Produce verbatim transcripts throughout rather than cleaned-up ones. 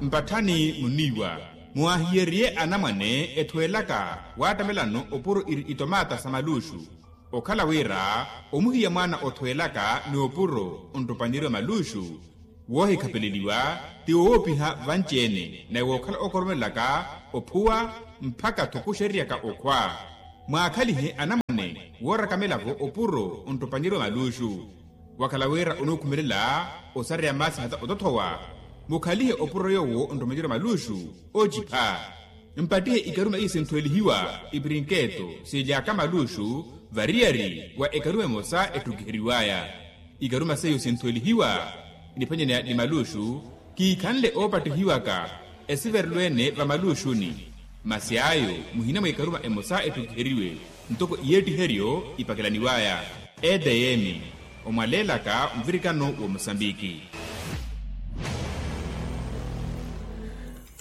Mpatthani muniiwa, muwahiyeriye anamwane ethweelaka waattamelano opuro iri itomaata sa maluuxu. Okhala wira omuhiya mwaana othweelaka ni opuro onttopanyeriwa maluuxu, woohikhapeleliwa ti woopiha vanci-ene naye wookhala okoromellaka ophuwa mpakha-tho kuxerryaka okhwa. Mwaakhalihe anamwane woorakamela-vo opuro onttopanyeriwa maluuxu. Wakhala wira onuukhumelela osareya maasi hata otothowa, mukhalihe opuro yoowo onttopanyeriwa maluuxu. Ocipha mpattihe ikaruma iyo sinthwelihiwa, ipirinketo siilyaka maluuxu variyari wa ekaruma emosa etthukiheriwaya. Ikaruma seiyo sinthwelihiwa niphwanyaneya ni maluuxu, kiikhanle oopattihiwaka esiverelo-ene vamaluuxuni. Masi ayo muhina mwa ikaruma emosa etthukiheriwe ntoko iyeettiheryo ipakelaniwaya. Edm, omwaleelaka nvirikano wa mosambiki.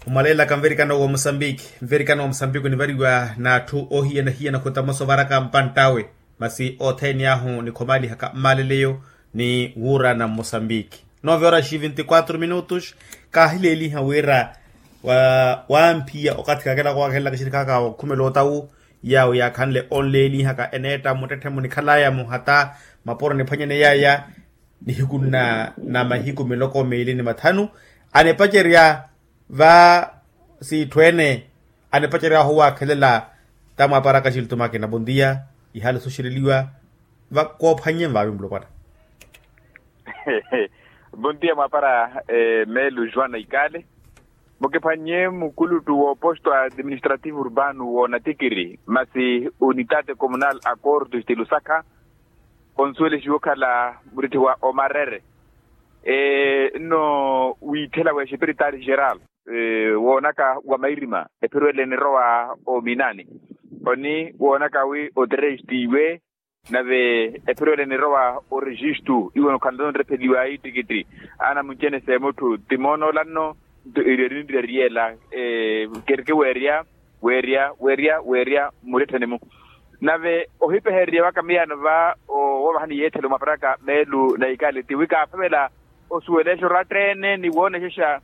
Omwaleelaka nvirikano wa mosambiki. Nvirikano wa mosambiki onivariwa n'atthu oohiyana-hiyana khutamosa ovaraka mpanttawe. Masi othene ahu nikhomalihaka mmaleleyo ni wuurana mmosambiki. Nove horas e vinte e quatro minutos. Kaahileeliha wira wamphiya okathi kakelaka owaakhelelaka exirikaka okhumela otawu, yawo yaakhanle onleelihaka eneetta mmuttetthe munikhalaya muhata mapuro niphwanyaneyaya. Nihiku nna na mahiku miloko miili ni mathanu anipacerya va siitthu ene anipacerya owaakhelela. Tamwaparaka xiltumakina bontiya. Ihaali soxereliwa va koophwannye mvavi mulopwana. Bontiya mwapara meelu juana ikale. Mukiphwannye mukuluttu wooposto administrativo urbano woonatikiri masi unitate comunal acordo estilusakha. Consuelo xiwokhala muritthi wa omarere nno wiithela wa exeperitari geral woonaka wa mairima ephiruwele nirowa ominani. Oni woonaka wi oterestiwe nave ephiruwele nirowa oregistu iwo nokhanle nrepheliwa ittikitti. Ana muncene s'emutthu ti moonoola nno nto eri eriniriyela kereke weerya weerya weerya weerya mmurettheni-mu. Nave ohipehererya waka miyaano va owoovahani yeethelo mwaparaka meelu na ikale ti wi kaaphavela osuwela exoro atteene ni woonexexa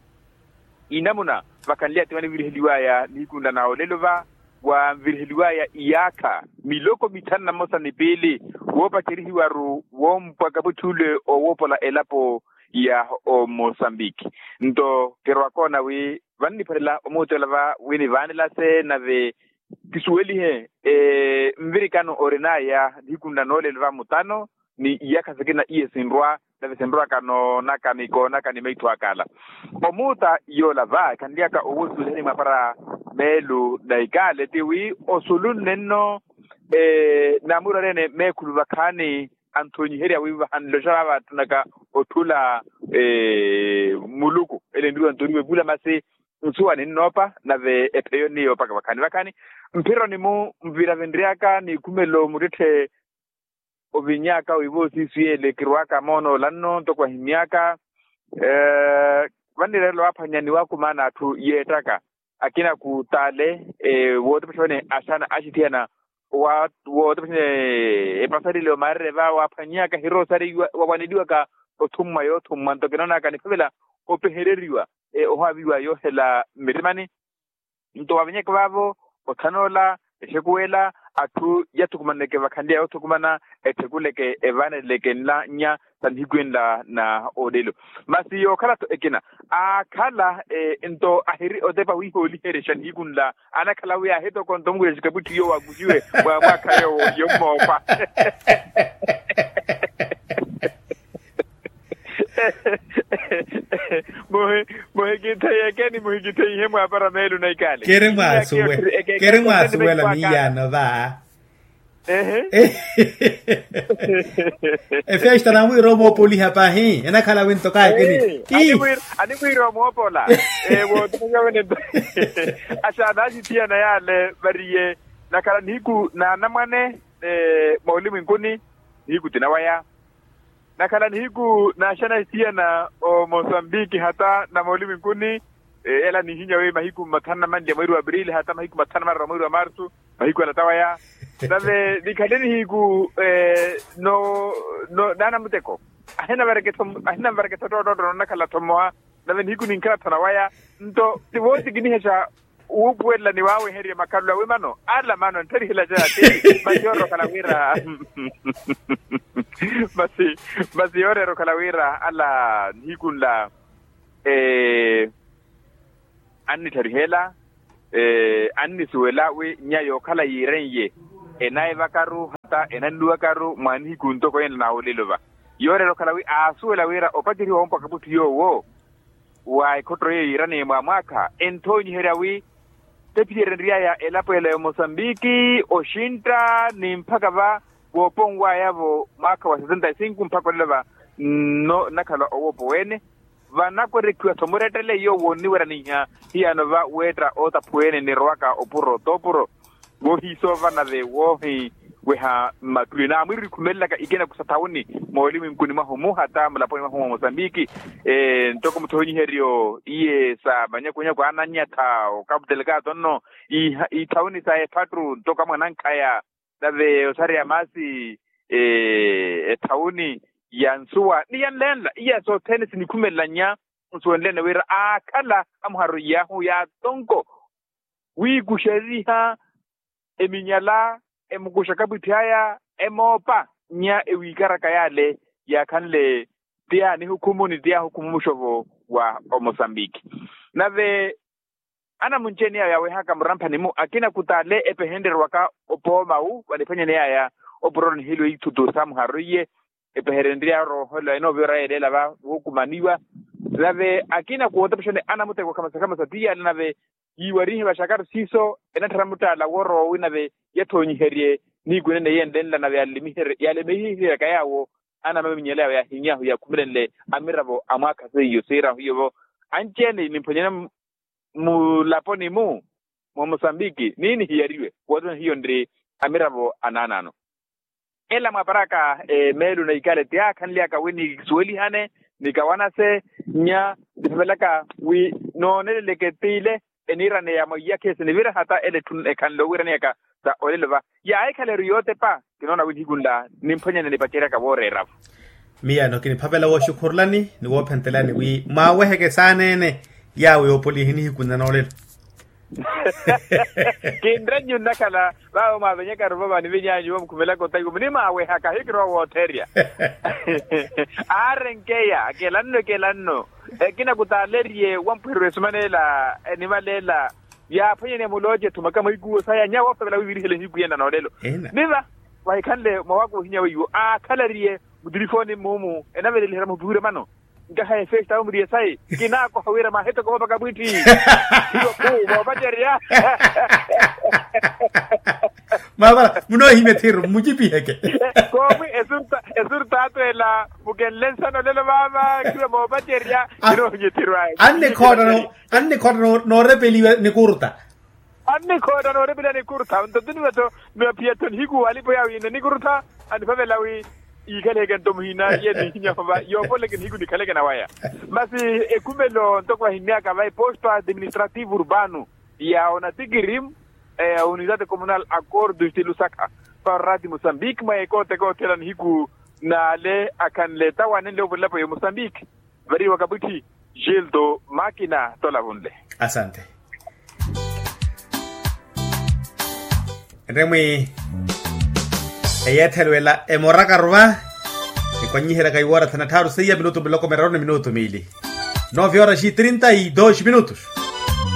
inamuna vakhanly'aya ti vaniviriheliw'aya nihiku nla na olelo va wanviriheliw'aya iyaakha miloko mithanu na mmosa ni piili woopacerihiwaru woompwaka vutthule owoopola elapo ya omosambiki. Nto kirwakoona wi vanniphalela omuuteela va wi nivaanelase nave kisuwelihe nvirikano orin'aya nihiku nla noolelo va mutano ni iyakha sikina iye sinrwa nave sinrwaka noonaka ni koonaka ni maitho akala. Omuuta yoola va ekhanly'aka owo suwelihani mwapara meelu na ikale ti wi osulu nne nno naamurwarya-ene meekhulu vakhaani anthonyiherya wi vahanloxa vaava attunaka otthula muluku ele enriwa ntoriwe vula masi nsuwa ninnoopa nave epheyo nniyoopaka vakhaani vakhaani. Mphironi-mu nvira vinry'aka nikhumelo muttetthe oviny'aka wi voosiisiyele kirw'aka moonoola nno ntoko ahimy'aka vannireerela waaphwanya ni waakumaana atthu yeettaka akina kutaale wootepexa wene axana axithiyana wootepexa wene epasarile omarere va waaphwany'aka hiroosari wawaneliwaka othummwa yoothummwa nto kinoonaka niphavela opehereriwa ohaaviwa yoohela mmirimani. Nto wavenyeke vaavo othanoola exekuwela atthu yathukumaneke vakhanliya yoothukumana etthekuleke evaaneleleke nlannya sa nihiku enla na olelo. Masi yookhala-tho ekina aakhala nto ahiri otepa wiihooliherexa nihiku nla anakhala wi aahitokonto mukuxa xikaputthiyo waakuxiwe mwa mwaakha yoowo yommoopa. Muhikitheyeke ni muhikitheihe mwaapara meelu na ikale. Keri mwaasuwela miiyano va. Efesto anamwiira omoopoliha pahi enakhala winto kaakini. Animwiira omoopola wootukunya wene nto. Axaana axithiyana yaale variye nakhala nihiku na anamwane moolimwinkuni nihiku tinawaya. Nakhala nihiku naaxana esiyana omosambiki hata na mooliminkuni. Ela nihinya wi mahiku mathanu na manli a mweeri wa aprili hata mahiku mathanu na mararu a mweeri wa marsu mahiku ala tawaya. Nave nikhale nihiku no no naana muteko ahinanvareketho ahinanvareketho ttoottootto noonakhala-tho mmoha. Nave nihiku ninkhala thona waya. Nto ti wootikinihexa wuupuwelela ni waawehererya makhalelo awe mano ala mano nttharihelacaya ti. Masi yoorerya okhala wira masi masi yoorerya okhala wira ala nihiku nla annitthariheela annisuwela wi nya yookhala yiiren'ye enaivakaru hata enannuwakaru mwa nihiku ntoko yenla na olelo va. Yooreera okhala wi aasuwela wira opaceriwa woompwaka mutthu yoowo wa ekhotto yeeyo yiiraneya mwa mwaakha enthoonyiherya wi tephiyereryaaya elapo ela ya omosambiki oxintta ni mpakha va wooponwaya-vo mwaakha wa sesenta e sinku mpakha olelo va nnakhala owoopo weene. Vanakwerekhiwa-tho murettele yoowo onniweraniha hiyano va weetta ootaphuwa ene nirowaka opuro t'opuro. Voohiisoova nave woohiweha mmattuli naamwiirikhumelelaka ikina kusa thawuni moolimwinkuni mwahu muhata mulaponi mwahu mwa mosambiki. Ntoko muthoonyiheryo iye sa manyakunyaku aananyatha okapu telekato nno ithawuni sa ephattu ntoko amwanankhaya nave osareya maasi ethawuni ya nsuwa ni ya nlenla iya sothene sinikhumelela nnya nsuwenlene wira aakhala amuharu iyaahu yaatonko wiikuxeriha eminyala emukuxa kapwitthi aya emoopa nnya ewiikaraka yaale yaakhanle ti yaanihukhumuni ti yaahukhumumu muxovo wa omosambiki. Nave anamunci-ene yaawo yaawehaka muramphani-mu akina kutaale epehenrerwaka opoomawu vaniphwanyaneya aya opuroni hilo ithutu samuharu iye epeherenryaru ohola enooviraya eleela va wookumaniwa. Nave akina kuwootapexani anamuteko khamasa khamasa ti yaale nave yiiwarihe vaxakaru siiso enatthara muttaala woorowa owi nave yathoonyiherye nihiku enene yenlenla nave yaalemihiheryaka yaawo anamaminyela yaawo yaahiny'ahu yaakhumelenle amiravo a mwaakha seiyo siirahu hiyo-vo anci-ene nimphwanyane mulaponi-mu mwa mosambiki niini hiyariwe wootona hiyo nri amiravo anaanaano. Ela mwaaparaka meelo na ikale ti yaakhanly'aka wi nikisuwelihane nikawanase nnya nipavelaka wi nooneleleke t'ile eniiraneya mwa iyakhe sinivira hata ele etthu ekhanle owiiraneyaka sa olelo va yaahikhala eri yootepa. Kinoona wi nihiku nla nimphwanyane nipaceryaka wooreera-vo. Miyano kiniphavela wooxukhurulani ni woophentelani wi mwaaweheke saaneene yaawo yoopolihi nihiku nla noolelo. Kinrennyu nnakhala vaawo mwaavenyakaru vo vaniveny'anyu vo mukhumelaka otakiwa munimwaawehaka hikirowa wootherya. Aarenkeya kelanno kelanno ekina kutaalerye wampwihererya esumaneela enimaleela yaaphwanyaneya mulooce ethumaka mwa ikuwo saya nyawo oofevela wivirihela ehiku yena noolelo. Ni va vahikhanle mwawaku ohinya weiwo aakhalariye mutilifooni mmumu enavelelihera muhupihure mano nkaha efesta awo muriye sayi kinaakoha wira maahitoko moopaka mwiitti. Hiyo khu moopacerya. Maapala munoohimya ethiru mmucipiheke. Koowi esurtaatu ela mukenle nsana olelo vaava khiwe moopacerya. Kinoohimya ethiru ayi. Annikhoota noorepeliwa nikuruta. Annikhoota noorepeliwa nikuruta nto tuniwa-tho niwaphiya-tho nihiku alipo yaawo yiina nikuruta. Aniphavela wi yiikhaleke nto muhina yenihinyahova yoopolleke nihiku nikhaleke nawaya. Masi ekhumelo ntoko vahimmyaka va eposto administrativo urbano ya onatikiri unidade communal acordo estilusaka parorati mosambiki mwa ekooteka othela nihiku naale akhanle tawanenle ovolapo ya mosambiki. Variwa kapwitthi gildo makina tolavunle. Asante. Nremwi eyeethelwela emorakaruva. Ekwanyiherya kaiwoora thana tthaaru seiya minutu miloko miraru ni minutu miili. Nove horas e trinta e dois minutos.